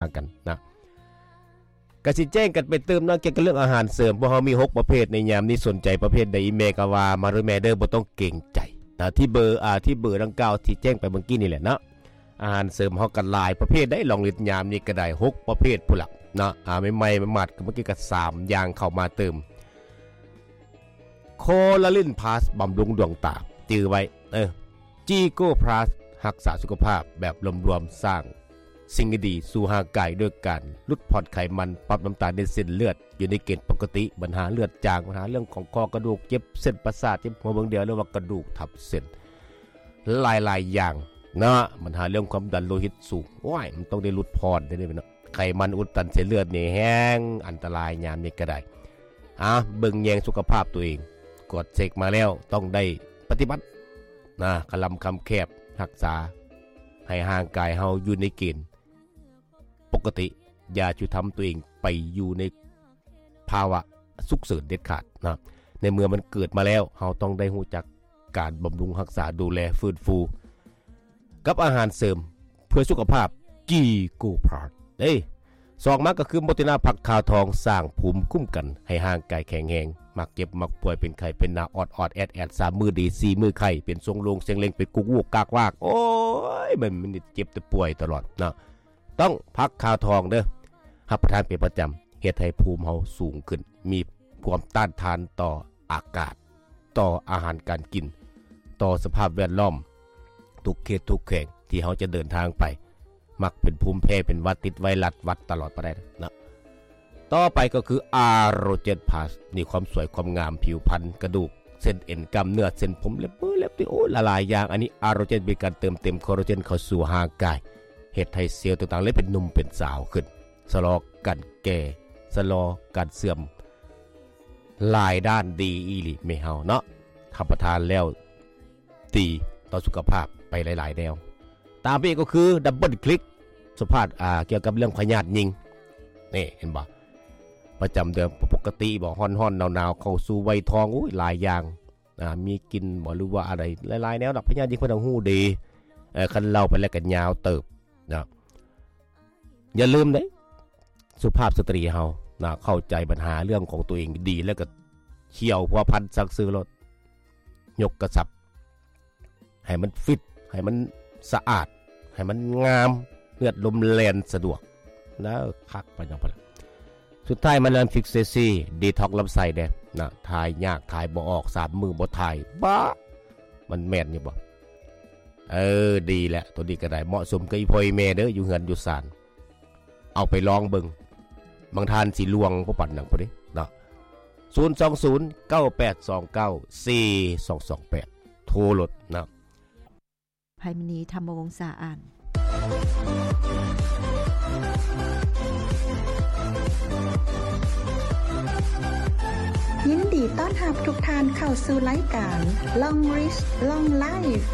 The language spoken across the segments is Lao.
າກັນນະ. ກະຊິແຈ້ງກັນໄປຕື່ມເນາະ ກ່ຽວກັບເລື່ອງອາຫານເສີມ. ພວກເຮົາມີຫົກປະເພດໃນຍາມນີ້ ສົນໃຈປະເພດໃດ ອີເມລກໍວ່າມາເດີແມ່ເດີ ບໍ່ຕ້ອງເກງໃຈນະ. ທີ່ເບີ ອ່າ ທີ່ເບີດັ່ງກ່າວທີ່ແຈ້ງໄປເມື່ອກີ້ນີ້ແຫຼະເນາະ. ອາຫານເສີມເຮົາກໍຫຼາຍປະເພດໄດ໋ ລອງລິດຍາມນີ້ກໍໄດ້ຫົກປະເພດພຸ້ນລະເນາະ. ອ່າ ໃໝ່ໆ ໝັດໆ ກໍເມື່ອກີ້ກໍສາມຢ່າງເຂົ້າມາຕື່ມ. ໂຄລາລິນພລັສ ບຳລຸງດວງຕາ ຈື່ໄວ້ ເອີ ຈີໂກພລັສ ຮັກສາສຸຂະພາບແບບລວມໆ ສ້າງສິ່ງດີໆ ສູ່ຮ່າງກາຍ ດ້ວຍການຫຼຸດຜ່ອນໄຂມັນ, ປັບນ້ຳຕານໃນເສັ້ນເລືອດຢູ່ໃນເກນປົກກະຕິ, ບັນຫາເລືອດຈາງ, ບັນຫາເລື່ອງຂອງຂໍ້ກະດູກ, ເຈັບເສັ້ນປະສາດ, ເຈັບຫົວເບິ່ງດຽວ ຫຼືວ່າກະດູກທັບເສັ້ນ ຫຼາຍໆຢ່າງເນາະ. ບັນຫາເລື່ອງຄວາມດັນໂລຫິດສູງ ໂອ້ຍ ມັນຕ້ອງໄດ້ຫຼຸດຜ່ອນເດ້ເນາະ. ໄຂມັນອຸດຕັນເສັ້ນເລືອດນີ້ແຮງອັນຕະລາຍຍາມນີ້ກໍໄດ້. ອາ ເບິ່ງແຍງສຸຂະພາບຕົວເອງ ກວດເຊັກມາແລ້ວ ຕ້ອງໄດ້ປະຕິບັດນະ ຄະລຳຄຳແຄບ ຮັກສາໃຫ້ຮ່າງກາຍເຮົາຢູ່ໃນເກນປົກກະຕິ. ຢ່າຈຸທຳຕົວເອງໄປຢູ່ໃນພາວະສຸກເສີນເດັດຂາດນະ. ໃນເມື່ອມັນເກີດມາແລ້ວ ເຮົາຕ້ອງໄດ້ຮູ້ຈັກ ການບຳລຸງຮັກສາ ດູແລ ຟື້ນຟູກັບອາຫານເສີມເພື່ອສຸຂະພາບ ຈີໂກພລັສເດ້. ສອງມາກໍຄືໂມຕິນາ ຜັກຂາວທອງ ສ້າງພູມຄຸ້ມກັນໃຫ້ຮ່າງກາຍແຂງແຮງ, ມັກເຈັບມັກປ່ວຍ ເປັນໄຂ້ເປັນໜາວ ອອດໆແອດໆ ສາມມື້ດີ ສີ່ມື້ໄຂ້ ເປັນຊົງໂລງເຊັງເລັງ ເປັນກຸກວກກາກວາກ ໂອ້ຍ ມັນ ມັນເຈັບແຕ່ປ່ວຍຕະຫຼອດເນາະ. ຕ້ອງຜັກຂາວທອງເດີ້ ຮັບປະທານເປັນປະຈຳ ເຮັດໃຫ້ພູມເຮົາສູງຂຶ້ນ ມີຄວາມຕ້ານທານຕໍ່ອາກາດ ຕໍ່ອາຫານການກິນ ຕໍ່ສະພາບແວດລ້ອມ ທຸກເຂດທຸກແຂວງທີ່ເຮົາຈະເດີນທາງໄປ ມັກເປັນພູມແພ້ ເປັນຫວັດ ຕິດໄວຣັສຫວັດຕະຫຼອດບໍ່ໄດ້ເນາະ. ຕໍ່ໄປກໍຄືອາໂຣເຈັດພລັສ ນີ້ ຄວາມສວຍຄວາມງາມ ຜິວພັນ ກະດູກ ເສັ້ນເອັນ ກ້າມເນື້ອ ເສັ້ນຜົມ ເລັບມື ເລັບຕີນ ໂອ້ ຫຼາຍໆຢ່າງ. ອັນນີ້ອາໂຣເຈັດ ເປັນການເຕີມເຕັມຄໍລາເຈນເຂົ້າສູ່ຮ່າງກາຍ ເຮັດໃຫ້ເຊວຕ່າງໆ ເລີຍເປັນໜຸ່ມເປັນສາວຂຶ້ນ ຊະລໍການແກ່ ຊະລໍການເສື່ອມ ຫຼາຍດ້ານ ດີອີ່ຫຼີແມ່ເຮົາເນາະ. ຮັບປະທານແລ້ວດີຕໍ່ສຸຂະພາບໄປຫຼາຍໆແນວ. ຕາມໄປອີກກໍຄືດັບເບິນຄລິກ ສະພາບ ອ່າ ກ່ຽວກັບເລື່ອງພະຍາດຍິງ ນີ້ ເຫັນບໍ່? ປະຈຳເດືອນປົກກະຕິບໍ່? ຮ້ອນໆ ໜາວໆ ເຂົ້າສູ່ໄວທອງ ໂອ້ຍ ຫຼາຍຢ່າງ ອ່າ ມີກິ່ນບໍ່ ຫຼືວ່າອະໄລ ຫຼາຍໆແນວດອກ. ພະຍາດຍິງເພິ່ນຕ້ອງຮູ້ດີ ເອີ ຄັນເລົ່າໄປແລ້ວກໍຍາວເຕີບນະ. ຢ່າລືມເດ້ ສຸພາບສະຕຣີເຮົານະ ເຂົ້າໃຈບັນຫາເລື່ອງຂອງຕົວເອງດີ ແລ້ວກໍທ່ຽວພົວພັນສັກຊື່ໂລດ ຍົກກະຊັບ ໃຫ້ມັນຟິດ ໃຫ້ມັນສະອາດ ໃຫ້ມັນງາມ ເລືອດລົມແລ່ນສະດວກ ແລ້ວຄັກໄປນຳ. ສຸດທ້າຍມາແລ້ວ ຟິກເຊຊີ ດີທັອກລຳໄສ້ແດ່ນະ ຖ່າຍຍາກ ຖ່າຍບໍ່ອອກ ສາມມື້ບໍ່ຖ່າຍ ບ້າ ມັນແມ່ນຢູ່ບໍ່? ເອີ ດີແຫຼະ ໂຕນີ້ກໍໄດ້ ເໝາະສົມກັບອີ່ພໍ່ອີ່ແມ່ເດີ້ ຢູ່ເຮືອນຢູ່ຊານ ເອົາໄປລອງເບິ່ງ ບາງທ່ານຊິລ່ວງບໍ່ປານຫຍັງພຸ້ນເດ້ເນາະ. ສູນສອງສູນ ເກົ້າແປດສອງເກົ້າ ສີ່ສອງສອງແປດ ໂທໂລດເນາະ. ໄພມະນີ ທຳມະວົງສາອານ. ຍິນດີຕ້ອນຮັບທຸກທ່ານເຂົ້າສູ່ລາຍການ Long Rich Long Life.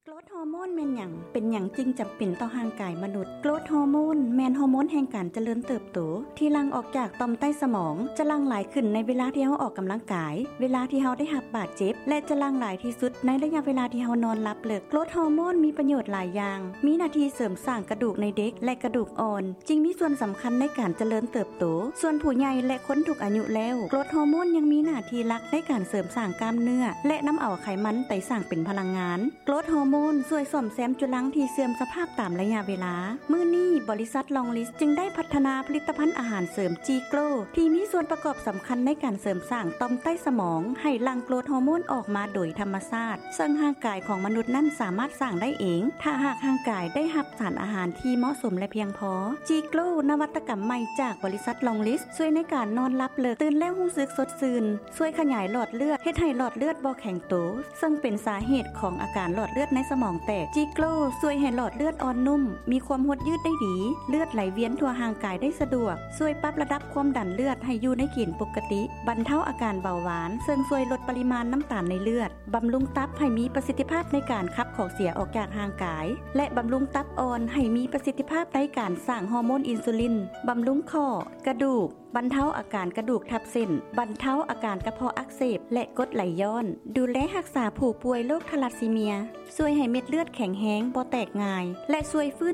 ໂກຣດຮໍໂມນແມ່ນຫຍັງ? ເປັນຫຍັງຈຶ່ງຈຳເປັນຕໍ່ຮ່າງກາຍມະນຸດ? ໂກຣດຮໍໂມນແມ່ນຮໍໂມນແຫ່ງການຈະເລີນເຕີບໂຕ ທີ່ຫຼັ່ງອອກຈາກຕ່ອມໃຕ້ສະໝອງ, ຈະຫຼັ່ງຫຼາຍຂຶ້ນໃນເວລາທີ່ເຮົາອອກກຳລັງກາຍ, ເວລາທີ່ເຮົາໄດ້ຮັບບາດເຈັບ ແລະ ຈະຫຼັ່ງຫຼາຍທີ່ສຸດໃນໄລຍະເວລາທີ່ເຮົານອນຫຼັບເລິກ. ໂກຣດຮໍໂມນມີປະໂຫຍດຫຼາຍຢ່າງ, ມີໜ້າທີ່ເສີມສ້າງກະດູກໃນເດັກ ແລະ ກະດູກອ່ອນ, ຈຶ່ງມີສ່ວນສຳຄັນໃນການຈະເລີນເຕີບໂຕ. ສ່ວນຜູ້ໃຫຍ່ ແລະ ຄົນທຸກອາຍຸແລ້ວ, ໂກຣດຮໍໂມນຍັງມີໜ້າທີ່ຫຼັກໃນການເສີມສ້າງກ້າມເນື້ອ ແລະ ນຳເອົາໄຂມັນໄປສ້າງເປັນພະລັງງານ. ໂກຣດຮໍໂມນຊ່ວຍສ້ອມແຊມຈຸລັງທີ່ເສື່ອມສະພາບຕາມໄລຍະເວລາ. ມື້ນີ້ ບໍລິສັດ Long Rich ຈຶ່ງໄດ້ພັດທະນາຜະລິດຕະພັນອາຫານເສີມ G-Grow ທີ່ມີສ່ວນປະກອບສຳຄັນໃນການເສີມສ້າງຕ່ອມໃຕ້ສະໝອງ ໃຫ້ຫຼັ່ງໂກຣດຮໍໂມນອອກມາໂດຍທຳມະຊາດ, ເຊິ່ງຮ່າງກາຍຂອງມະນຸດນັ້ນສາມາດສ້າງໄດ້ເອງ ຖ້າຫາກຮ່າງກາຍໄດ້ຮັບສານອາຫານທີ່ເໝາະສົມ ແລະ ພຽງພໍ. G-Grow ນະວັດຕະກຳໃໝ່ຈາກບໍລິສັດ Long Rich ຊ່ວຍໃນການນອນຫຼັບເລິກ, ຕື່ນແລ້ວຮູ້ສຶກສົດຊື່ນ, ຊ່ວຍຂະຫຍາຍຫຼອດເລືອດ, ເຮັດໃຫ້ຫຼອດເລືອດບໍ່ແຂງໂຕ, ເຊິ່ງເປັນສາເຫດຂອງອາການຫຼອດເລືອດໃນສະໝອງແຕກ. G-Grow ຊ່ວຍໃຫ້ຫຼອດເລືອດອ່ອນນຸ້ມ, ມີຄວາມຫົດຍືດໄດ້ດີ, ເລືອດໄຫຼວຽນທົ່ວຮ່າງກາຍໄດ້ສະດວກ, ຊ່ວຍປັບລະດັບຄວາມດັນເລືອດໃຫ້ຢູ່ໃນເກນປົກກະຕິ, ບັນເທົາອາການເບົາຫວານ, ເຊິ່ງຊ່ວຍລົດປະລິມານນ້ຳຕານໃນເລືອດ, ບຳລຸງຕັບໃຫ້ມີປະສິດທິພາບໃນການຂັບຂອງເສຍອອກຈາກຮ່າງກາຍ ແລະ ບຳລຸງຕັບອ່ອນໃຫ້ມີປະສິດທິພາບໃນການສ້າງຮໍໂມນອິນຊູລິນ, ບຳລຸງຂໍ້, ກະດູກ, ບັນເທົາອາການກະດູກທັບເສັ້ນ, ບັນເທົາອາການກະເພາະອັກເສບ ແລະ ກົດໄຫຼຍ້ອນ, ດູແລຮັກສາຜູ້ປ່ວຍໂລກທາລາຊີເມຍ, ຊ່ວຍໃຫ້ເມັດເລືອດແຂງແຮງ, ບໍ່ແຕກງ່າຍ ແລະ ຊ່ວຍຟື້ນ